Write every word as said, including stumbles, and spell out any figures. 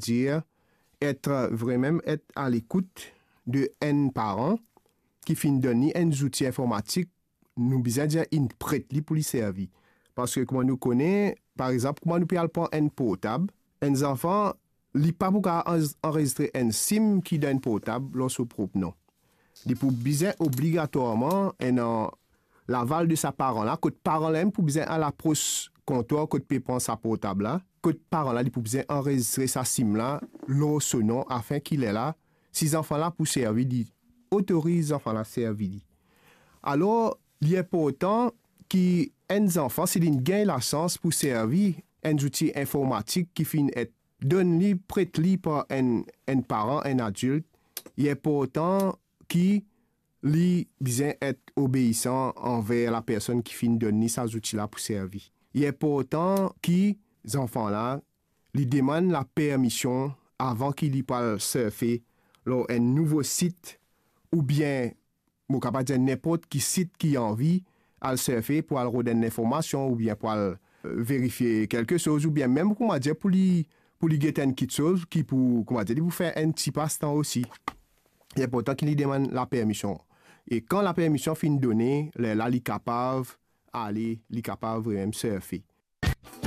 dir, et vremem et a lekout de enn paran ki finn donn li enn zouti informatik, nou bizin dir inn pret li pou li servi. Parski kouma nou kone, par exanp, kouma nou pe al pran enn portab, enn zanfan, li pa pou kapav anz-, anrezistre enn sim ki dan enn portab lor so prop non. Li pou bizin obligatwarman ena laval de sa paran la, kot paran la mem pou bizin al apros kontwar kot pe pran sa portab la, kot paran la, li pou bizin anrezistre sa sim la lor so non, afin ki lerla, si zanfan la pou servi, li otoriz zanfan la servi li. Alor, li inportan ki enn zanfan, si linn gagn lasans pou servi enn zouti informatik ki finn et donn li, pret li par enn, enn paran, enn adilt, li inportan ki li bizin et obeisan anver lapersonn ki finn donn li sa zouti la pou servi. Li inportan ki zanfan la, li demann lapermision avan ki li pou al serfe lor enn nouvo sit, oubien, mo kapav dir, ninport ki sit ki anvi al serfe pou al rod enn linformasion, oubien pou al, eh, verifie kelke soz, oubien mem, kouma dir, pou li, pou li get enn kitsoz ki pou, kouma dir, li pou fer enn ti pastan osi. Li inportan ki li demann lapermision. E kan lapermision finn done, lerla li kapav ale, li kapav vremem serfe.